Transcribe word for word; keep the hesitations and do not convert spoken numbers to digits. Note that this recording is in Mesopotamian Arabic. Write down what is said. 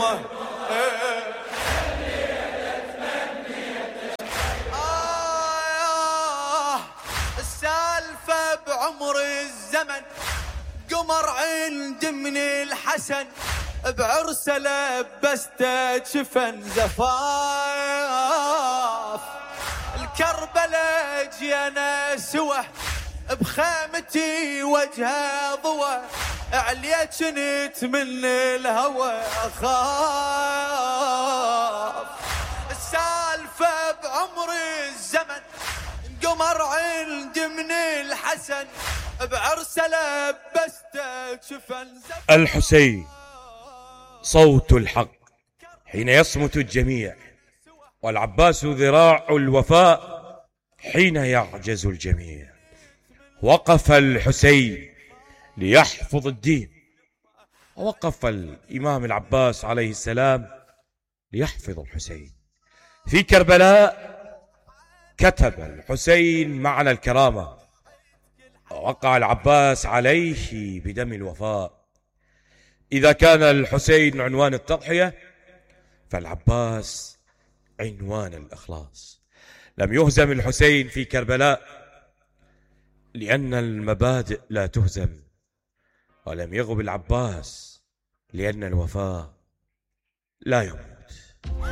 يمه. آه السالفة بعمر الزمن قمر عند من الحسن بعرسه لبسته جفن زفاف الكربلاء جينا سوى بخيمتي وجهه ضوى عليت جنت من الهوى أخاف السالفة بعمر الزمن قمر عند من الحسن بعرسه لبسته جفن زفاف. الحسين صوت الحق حين يصمت الجميع، والعباس ذراع الوفاء حين يعجز الجميع. وقف الحسين ليحفظ الدين، ووقف الإمام العباس عليه السلام ليحفظ الحسين. في كربلاء كتب الحسين معنى الكرامة، ووقع العباس عليه بدم الوفاء. إذا كان الحسين عنوان التضحية فالعباس عنوان الإخلاص. لم يهزم الحسين في كربلاء لأن المبادئ لا تهزم، ولم يغب العباس لأن الوفاء لا يموت.